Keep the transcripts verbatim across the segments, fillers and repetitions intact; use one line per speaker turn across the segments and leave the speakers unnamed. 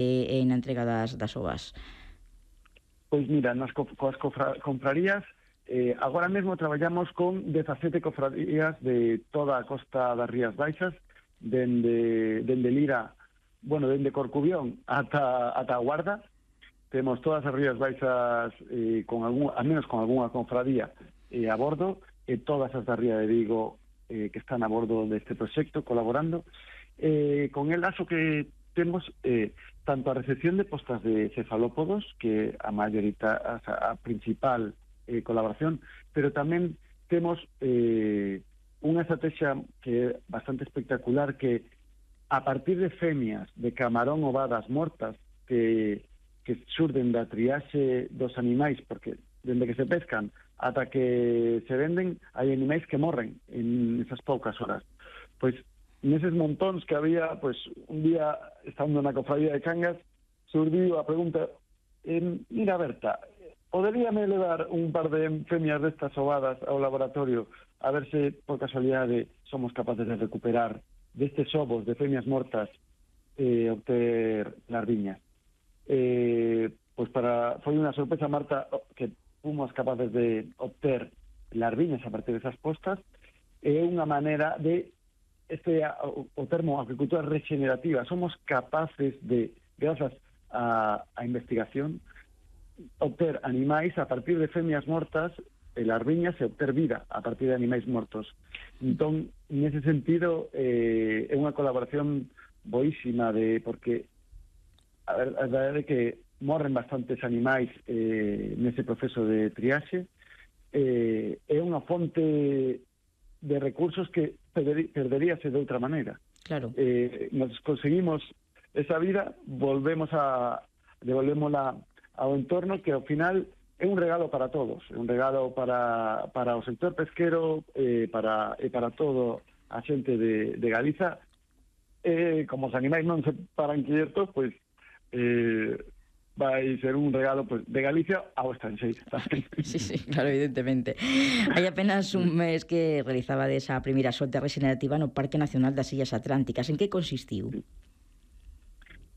e na entrega das, das ovas?
Pois mira, nas co coas cofra confrarías, eh, agora mesmo traballamos con dezasete cofradías de toda a costa das Rías Baixas, dende, dende Lira, bueno, dende Corcubión ata, ata a Guarda. Temos todas as Rías Baixas, eh, con algún, al menos con algunha confradía eh, a bordo, e todas as da Ría de Vigo eh, que están a bordo deste proxecto, colaborando. Eh, con el lazo que temos eh, tanto a recepción de postas de cefalópodos, que a mayorita, a, a principal eh, colaboración, pero tamén temos eh, unha estrategia que é bastante espectacular, que a partir de femias de camarón ovadas mortas que, que surden da triaxe dos animais, porque dende que se pescan ata que se venden, hai animais que morren en esas poucas horas. Pois neses montóns que había, pois un día, estando na cofradía de Cangas, surdiu a pregunta, eh, mira Berta, poderíame levar un par de femias destas ovadas ao laboratorio a ver se, por casualidade, somos capaces de recuperar destes ovos de femias mortas e eh, obter larviñas. Eh, pois para foi unha sorpresa, Marta, que fomos capaces de obter larviñas a partir desas postas. É unha maneira de, este o, o termo agricultura regenerativa, somos capaces de, grazas a, a investigación, obter animais a partir de femias mortas e larviñas e obter vida a partir de animais mortos. Entón, nese sentido, eh, é unha colaboración boísima, de porque a verdade é que morren bastantes animais eh, nese proceso de triaxe. Eh, é unha fonte de recursos que perderíase de outra maneira.
Claro.
Eh, nos conseguimos esa vida, volvemos a devolvémola ao entorno, que ao final é un regalo para todos, é un regalo para, para o sector pesquero, eh, para, e para todo a xente de, de Galiza. Eh, como os animais non se paran quietos, pois eh, vai ser un regalo, pues, de Galicia ao estranxeiro.
Sí, sí, claro, evidentemente. Hai apenas un mes que realizaba desa primeira solta regenerativa no Parque Nacional das Illas Atlánticas. En que consistiu?
Sí.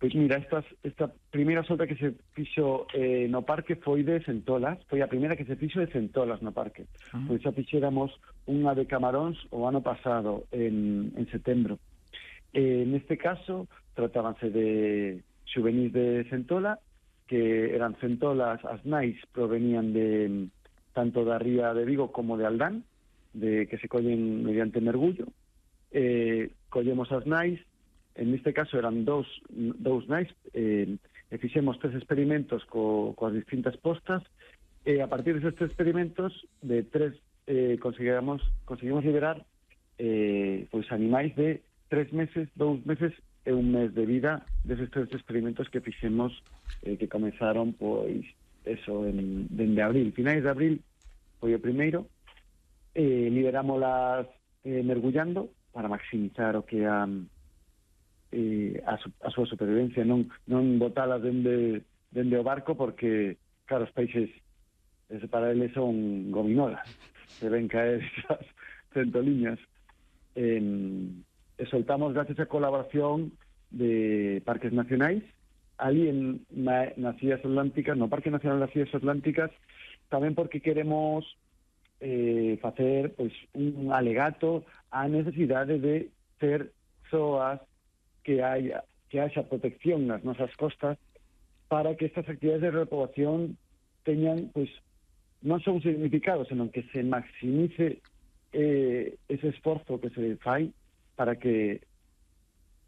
Pois mira, estas, esta primeira solta que se fixo eh, no parque foi de centolas, foi a primeira que se fixo de centolas no parque. Ah. Pois xa fixéramos unha de camaróns o ano pasado, en, en setembro. Eh, neste caso, tratábanse de xuvenís de centola, que eran centolas, as nais provenían de tanto da ría de Vigo como de Aldán, de que se collen mediante mergullo. Eh, collemos as nais, en este caso eran dous, dous nais, eh, e fixemos tres experimentos co, coas distintas postas, e a partir deses tres experimentos, de tres, eh, conseguimos, conseguimos liberar eh, pois animais de tres meses, dous meses e un mes de vida deses tres experimentos que fixemos, eh, que comenzaron, pois, eso, en, dende abril, finais de abril foi o primeiro. Eh, liberámolas eh, mergullando para maximizar o que a Eh, a, su, a súa supervivencia, non, non botalas dende, dende o barco, porque, claro, os peixes ese para eles son gominolas, se ven caer esas centoliñas. Eh, e soltamos gracias a colaboración de parques nacionais, ali en, na, nas Illas Atlánticas, no Parque Nacional das Illas Atlánticas, tamén porque queremos eh, facer, pois, un alegato á necesidade de ter zoas que haya, que haya protección nas nosas costas, para que estas actividades de repoblación teñan, pois, non só un significado, senón que se maximice eh, ese esforzo que se fai para que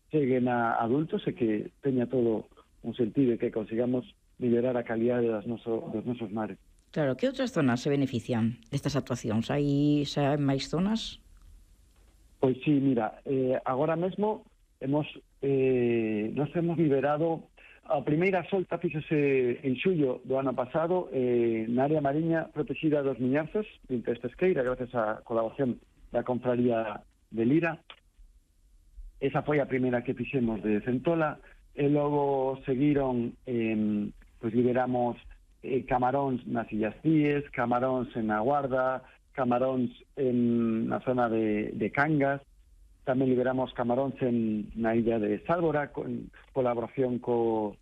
cheguen a adultos e que teña todo un sentido e que consigamos liberar a calidade das noso, dos nosos mares.
Claro, que outras zonas se benefician destas actuacións? Hai xa máis zonas?
Pois sí, mira, eh, agora mesmo hemos eh, nos hemos liberado a primeira solta fíxose en xullo do ano pasado eh, na área mariña protegida dos Miñarzos, de Pesqueira, gracias á colaboración da Confraría de Lira. Esa foi a primeira que fixemos de centola, e logo seguiron, eh, pois liberamos eh, camaróns nas Illas Cíes, camaróns en A Guarda, camaróns en na zona de, de Cangas. tamén liberamos camaróns en, na illa de Sálvora, con colaboración co,